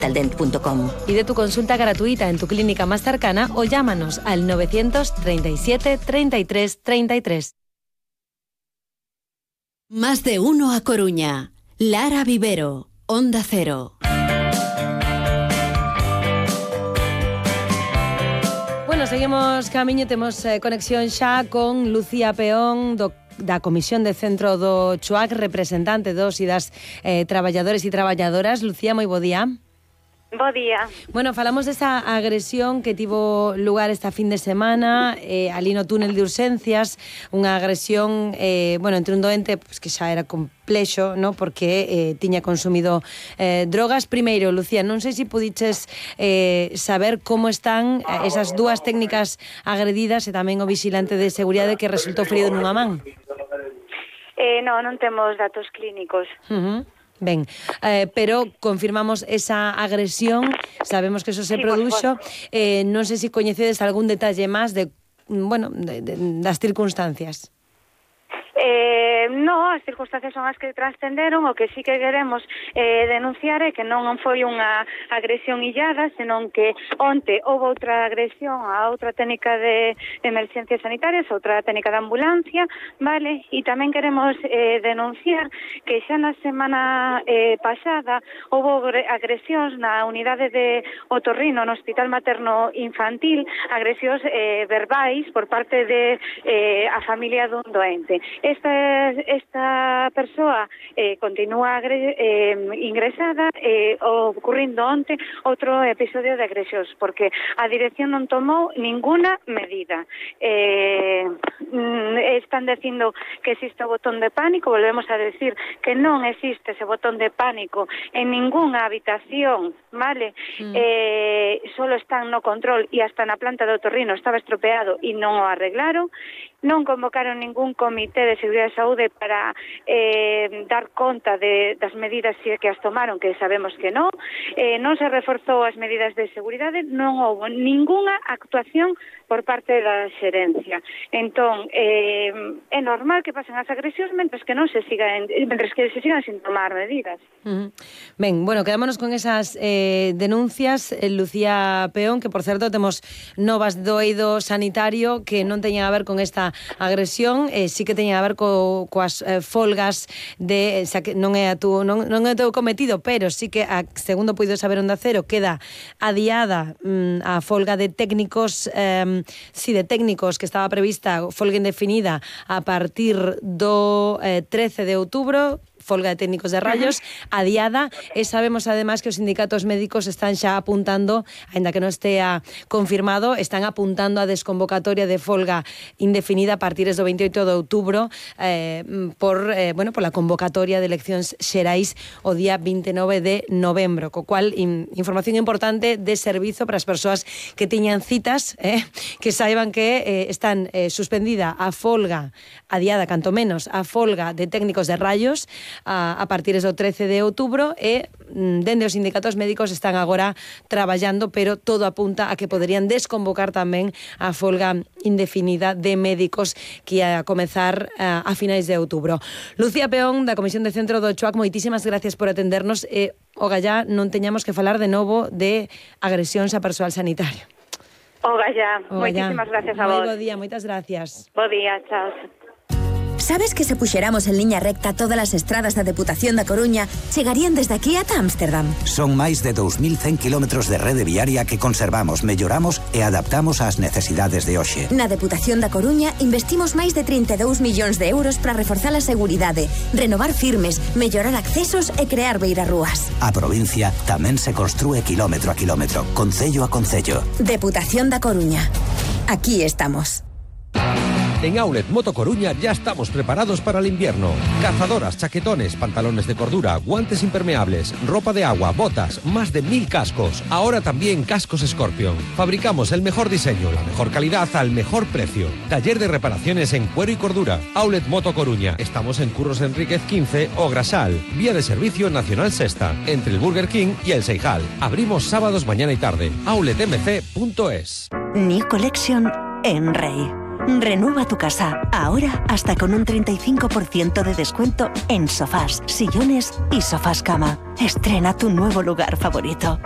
Vitaldent.com. Pide tu consulta gratuita en tu clínica más cercana o llámanos al 937 33 33. Más de uno a Coruña. Lara Vivero, Onda Cero. Bueno, seguimos camiño, temos conexión xa con Lucía Peón da Comisión de Centro do CHUAC, representante dos e das traballadores e traballadoras. Lucía, moi bo día. Bo día. Bueno, falamos desa agresión que tivo lugar esta fin de semana ali no túnel de urxencias, unha agresión entre un doente que xa era complexo, ¿no? Porque tiña consumido drogas. Primeiro, Lucía, non sei se pudiches saber como están esas dúas técnicas agredidas e tamén o vigilante de seguridade que resultou ferido nunha man. Non temos datos clínicos. Ben, pero confirmamos esa agresión, sabemos que eso se produxo. Non sei se coñecedes algún detalle máis das circunstancias. No, as circunstancias son as que transcenderon. O que sí que queremos denunciar é que non foi unha agresión illada, senón que onte houve outra agresión a outra técnica de emerxencias sanitarias, outra técnica de ambulancia, vale? E tamén queremos denunciar que xa na semana pasada houve agresións na unidade de otorrino no Hospital Materno Infantil, agresións verbais por parte de a familia dun doente. Esta persoa continúa ingresada, ocurrindo onte outro episodio de agresións, porque a dirección non tomou ninguna medida. Están dicindo que existe o botón de pánico. Volvemos a decir que non existe ese botón de pánico en ningunha habitación, vale? Solo están no control e hasta na planta de otorrino estaba estropeado e non o arreglaron. Non convocaron ningún comité de seguridade e saúde para dar conta das medidas que as tomaron, que sabemos que non se reforzou as medidas de seguridade, non houve ningunha actuación por parte da xerencia. Entón, é normal que pasen as agresións mentres que se sigan sin tomar medidas. Ben, bueno, quedámonos con esas denuncias, Lucía Peón, que por certo temos novas do eido sanitario que non teñen a ver con esta agresión, sí que teñen a ver coas folgas de, xa que non é o teu cometido, pero sí que segundo puido saber Onda Cero, queda adiada a folga de técnicos, de técnicos que estaba prevista, folga indefinida a partir do 13 de outubro, folga de técnicos de rayos, adiada, e sabemos además que os sindicatos médicos están xa apuntando, aínda que non estea confirmado, están apuntando a desconvocatoria de folga indefinida a partir do 28 de outubro por la convocatoria de eleccións xerais o día 29 de novembro, co cual información importante de servizo para as persoas que tiñan citas, que saiban que están suspendida a folga, adiada canto menos, a folga de técnicos de rayos a partir do 13 de outubro e dende os sindicatos médicos están agora traballando, pero todo apunta a que poderían desconvocar tamén a folga indefinida de médicos que ia a comezar a finais de outubro. Lucía Peón, da Comisión de Centro do CHUAC, moitísimas gracias por atendernos e ogallá non teñamos que falar de novo de agresións a persoal sanitario. Ogallá, moitísimas gracias a vos. Moi bo día, moitas gracias. Bo día, chao. Sabes que se puxéramos en liña recta todas as estradas da Deputación da Coruña chegarían desde aquí ata Ámsterdam? Son máis de 2.100 kilómetros de rede viaria que conservamos, melloramos e adaptamos ás necesidades de hoxe. Na Deputación da Coruña investimos máis de 32 millóns de euros para reforzar a seguridade, renovar firmes, mellorar accesos e crear beirarrúas. A provincia tamén se construe kilómetro a kilómetro, concello a concello. Deputación da Coruña. Aquí estamos. En Outlet Moto Coruña ya estamos preparados para el invierno. Cazadoras, chaquetones, pantalones de cordura, guantes impermeables, ropa de agua, botas, más de 1000 cascos. Ahora también cascos Scorpion. Fabricamos el mejor diseño, la mejor calidad al mejor precio. Taller de reparaciones en cuero y cordura. Outlet Moto Coruña. Estamos en Curros Enríquez 15 o Grasal. Vía de servicio Nacional Sexta, entre el Burger King y el Seijal. Abrimos sábados mañana y tarde. outletmc.es. New Collection en Rey. Renueva tu casa, ahora hasta con un 35% de descuento en sofás, sillones y sofás cama. Estrena tu nuevo lugar favorito.